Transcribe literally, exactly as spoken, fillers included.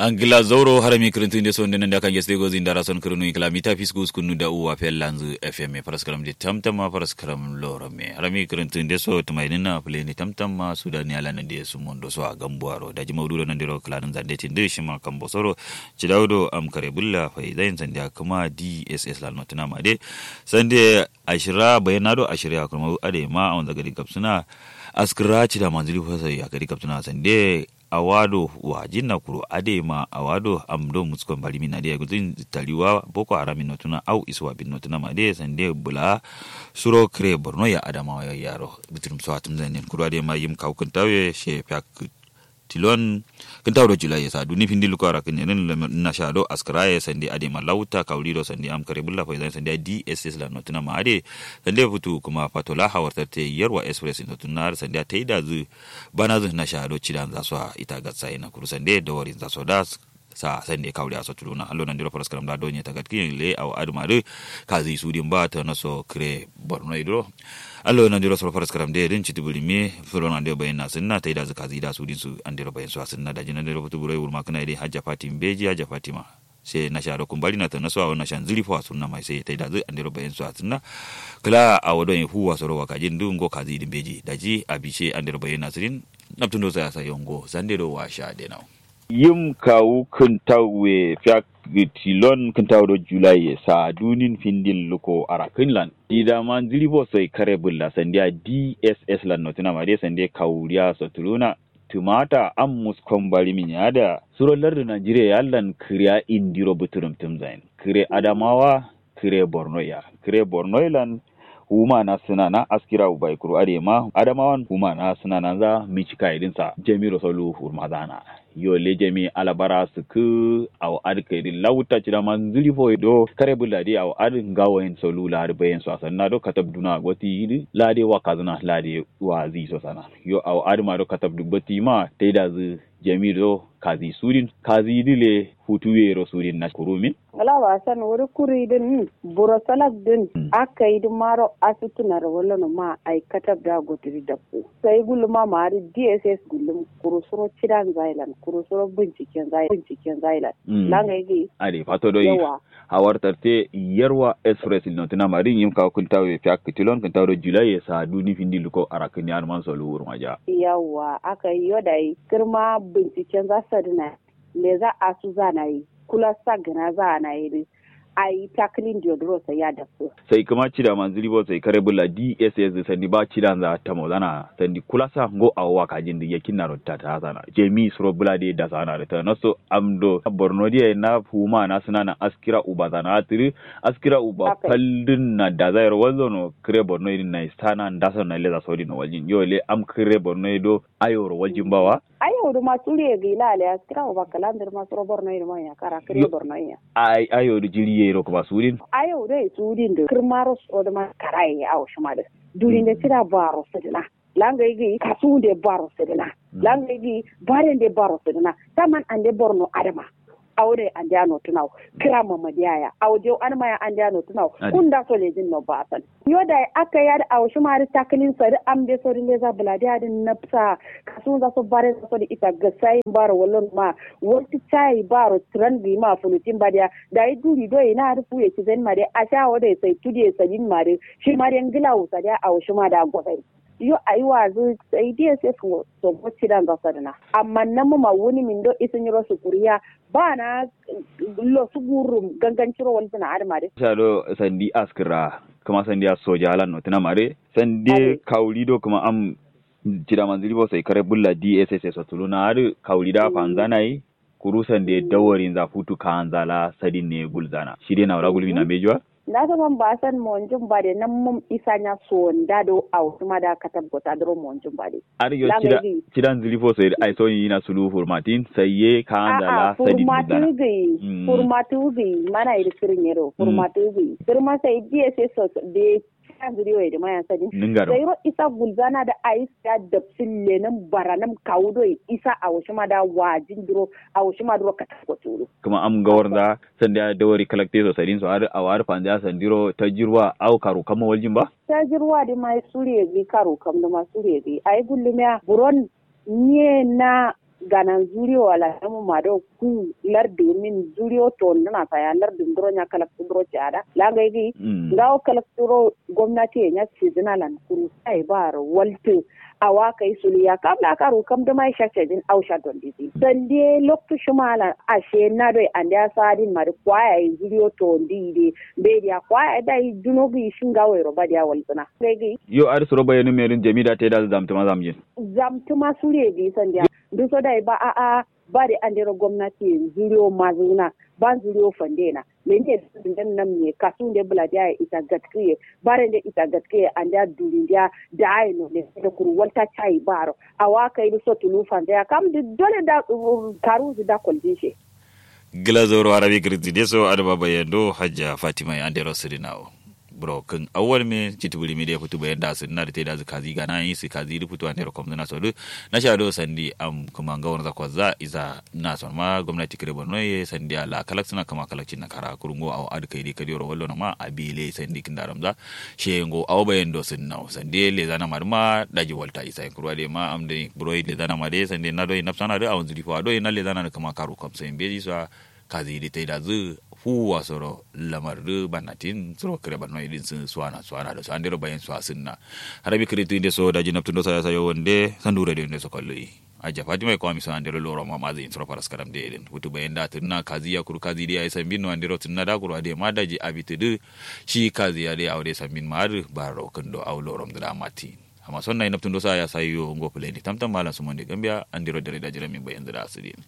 Angla zauro harami kǝrǝntǝ nde so nde nande akange sǝde gozi ndara son kǝrǝnu inkǝla mita fisku uskunnu da uwa fellanzǝ. Fm faraskaram de tamtamma faraskaram lorome harami kǝrǝntǝ nde so tǝmaidǝnna fǝleni tamtamma sudani ala nande sumondo so a gambuwaro daji maududo nandero kǝlanǝnza nde tindǝ shima kambo soro. Cidawu do am kare bulla faizayin sandiya kǝma dss lan notǝnama de sande ashira bayanna do ashira ya kǝrma adai ma awonza gadi gabsǝna. Askǝra cida manzǝli fo sai ya gadi gabsǝna sande. Awa do wajinna kuru adai ma awa do am do muskon bari min adai gulzin tariwa boko haram min notuna au isuwa bin notuna ma dai sande bula. Suro kǝre borno ya adamawa ya yaro bitirim so atǝm zanen kuru adai ma yim kawu kǝntawe she fiya kǝ tilon. Kǝntawu do jula ye sa duni findi luko ara kǝnyerin nasha do askǝra ye sande adai ma lauta kawuri do sande am kare bulla faizan sande dss lan notuna ma adai. Sande futu kuma fatola hawartarte yarwa express notuna sande taida zǝ. Banazǝ nasha do cidanza so a ita gatsaye na kuru sande dawarinza so da. Sa sande kawuliya so tuluna allo nandiro faraskaram da donye tagatkiyen le awo adǝ ma dǝ. Kazi sudin ba tanaso kǝre borno ye duro. Allo nandiro soro faraskaram de dǝn citi bǝlimi. Soro nandiro bayin na sǝnna taidazǝ kazi da sudin su andiro bayin so a sǝnna daji nandiro futu buro ye wurma kǝna ye de hajja fatima beji hajja fatima. Sai nasha do kumbari na tanaso awo nasha nzǝri fo a sunna mai sai taidazǝ andiro bayin so a sǝnna. Kǝla awo don ye fuwa soro wakajin dǝ ngo kazi dǝ beji daji abishe andiro bayin na sǝrin. Naptǝndo sai a sayo ngo sande do washa de nawo. Yim kawu kǝntawu ye fiya kǝ tilon kǝntawu do jula ye sa dunin findin luko ara kǝnlan. Didama nzǝri fo sai kare bulla sandiya dss lan notuna ma dai sande kawuriya so tuluna. Tǝmata am muskon bari min ya da suro lardǝ najeriya ya allan kǝriya indiro bǝtǝrǝm tǝmzayin kǝre adamawa. Kǝre borno ya kǝre borno ye lan. Wuma na sǝnana askira ubai kuru adai ma adamawan wuma na sǝnananza mici kayi dǝn sa jami ro solu wurmazana. Yo le jami alabara sǝkkǝ. Awo adǝ kayi dǝn lawutta cidama nzǝri fo ye do kare bulla dai awo adǝ ngawo yen solu la adǝ bayen so a sanna do katab duna goti yi dǝ la dai wakazǝna la dai wazi so sana. Yo awo adǝ ma do katab dǝ goti ma taidazǝ. Jami do kazi sudin kazi dǝ le futu yero sudin na kuru min. Ngla ba san wuri kuri dǝn buro salak dǝn. Akkai dǝ maro asutuna ro wallo no ma ai katab da goti dǝ dabbo sai gulluma ma adǝ dss gullum kuru suro cidan zailan kuru suro binciken zailan. Langai gi adǝ fato do yi. Yawa. Hawar tarte yarwa express notǝna ma dǝn yim kawu kǝntawu ye fiya kǝ tilon kǝntawu do julai ye sa duni findi luko ara kǝnni adǝman solu wurmaja. Yawa akkai yo dai kǝrma binciken za sadǝna. Leza asuzana ye kula sagǝna zana ye dǝ. Ayi takǝlin diyo duro sai ya dafsu. Sai kǝma cida manzǝri bo sai kare bulla dss dǝ sandi ba cidanza tamozana sandi kulasa ngo awo wakajin dǝ yakinnaro tatasana jami suro bula dǝ ye dasana dǝ tanaso. Am do borno diya ye na fuma na sǝnana askira uba zana atǝ dǝ. Askira uba fal dǝn na daza yero walzono kǝre borno ye dǝn nayi sana ndasano nayi leza sodin no waljin yo le am kǝre borno ye do. Ayoro waljin bawa. Ayau dǝ ma suriye gǝyi la ale askira uba kǝlan dǝ dǝ ma suro borno ye dǝ ma ya kara kǝre borno ye ya. Ai ayau dǝ jiri ye ro kǝma sudin. Ayau dǝ ye sudin dǝ kǝrma ro suro dǝ ma kara ye awo shima dǝ. Durin dǝ cida baro sǝdǝna. Langai gǝyi kasu nde baro sǝdǝna. Langai gǝyi bare nde baro sǝdǝna. Taman ande borno adǝ ma. Awo dai andeya notǝnawo. Kǝra mamadiya ya awo diyau adǝma ya andeya notǝnawo. Kun nda so lejin no basan. Yo dai akkai adǝ awo shima adǝ takǝlin so adǝ am de so dǝ leza bǝladiya adǝ nabsa. Kasunza so barenza so dǝ ita gasayin baro wallon ma. Waltǝ cayi baro tǝran gǝyi ma fulutin badiya. Dai duri doi na adǝ fuye cizain ma dai asha awo dai sai tudiye sadin ma dǝ. Shima dai ngǝlawu sadiya awo shima da gosai. Yo ayi wazǝ sai dss ngo. Sobo cidanza sadǝna amma namma ma wuni min do isǝ nyiro sukuriya. Bana losu gurrum ganganciro waltǝna adǝma dǝ. Sha do sandi askǝra kǝma sandiya soja alan notǝna ma dǝ. Sande kawuri do kǝma am cida manzǝri bo sai kare bulla dss so tuluna adǝ kawuri da fanzana ye. Kuru sande dawarinza futu kaanza la sadin ne gulzana shi dai nawura gulmi na mbeji wa. Nda so man ba san monjum ba de nan mum isa nya so nda do awo shima da katab gota duro monjum ba de. Adǝ yo cida nzǝri fo sai ai so yina sulu furmatin sai ye kaanza la sadin gulzana. Furmatu gǝyi mana yi dǝ kǝrin yero furmatu gǝyi kǝrma sai dss so de. Cida nzǝri wo ye dǝ ma ya sadin ningaro sai ro isa gulzana da ayi siya dabsin lenǝm baranǝm kawu doi isa awo shima da wajin duro. Awo shima duro katab gota duro. Kǝma am ngawarza. Sandiya dawari kalakte so sadin so adǝ awo adǝ fandiya sandiro tajirwa au karu kamma waljin ba. Tajirwa dǝ ma suriye gǝyi karu kam dǝ ma suriye gǝyi ayi gullumiya buron. Nye na Ganan zuriyo wala namu ma do ku lardu min zuriyo to nduna saya lardu nduro nya kalaktu duro ci ada la ngai gi. Ngawo kalaktu ro gomnati ye nya cizina lan kuru sai baro waltu. Awa kai sulu ya kam la karu kam duma sha cejin au sha don didi sande loktu shima lan ashe na doi ande asadin mari kwaya yi zuriyo to ndi de. Be dia kwaya dai duno gi shinga wero ba dia waltuna ngai gi. Yo ari suro bayanu merin jami da te da zamtuma zamjin. Zamtuma suriye gi sande. Nduso dai ba a'a. Ba de andero gomnati ye zuriyo mazuna ba zuriyo fande na. Lende nde nam ne kasu nde buladiya ye ita gatkiye. Bare nde ita gatkiye andiya dulindiya. Da ayi no ne da kuru walta cayi baro awa kai du so tulu fande ya kam du dole da. Karu du da koldin she. Gila zoro arabi kirinti de so adama bayando hajja fatima ya andero sirinawo. Buro kǝn awwal me citǝ bǝrimi de futu bayan da sǝdǝna dǝ te dazǝ kazi gana yi sǝ kazi dǝ futu andero komzǝna so dǝ. Nasha do sandi am kǝma ngawar za kwazza iza na son ma gomnati kǝre borno ye sandi ala kalak sǝna kǝma kalak cinna kara kuru ngo awo adǝ kai dǝ kadiyoro wallo no ma abi le sandi kǝndaram za. She ngo awo bayan do sǝdǝna wo sandi lezana ma dǝ ma daji walta isa yen kuru adǝ ye ma am dǝ buro lezana ma dǝ ye sandi na do ye nafsana dǝ awon zǝ difawa do ye na lezana dǝ kǝma karu komso yen beji so a. Kazi dǝ taidazǝ fuwwa soro lamar dǝ bannatin suro kǝre banno ye dǝn sǝ suwana suwana do so andero bayin suwa sǝnna. Harabi kǝritǝ nde so daji nabtǝ ndo saya sayo wande sandu radio nde so kalloyi. Aja fatima ye kwami so andero loro ma mazi yin suro faras karam de ye dǝn futu bayin da tǝnna kazi ya kuru kazi dǝ yayi sambin no andero tǝnna da kuru adǝ ye ma daji abitǝ dǝ. Shi kazi ya dǝ awo dǝ sambin ma adǝ baro kǝndo awo lorom dǝ da matin. Amma son nayi nabtǝ ndo saya sayo ngo fǝlai nde tamtam malam sumon de gambiya andero dare daji ramin bayin dǝ da sǝdin.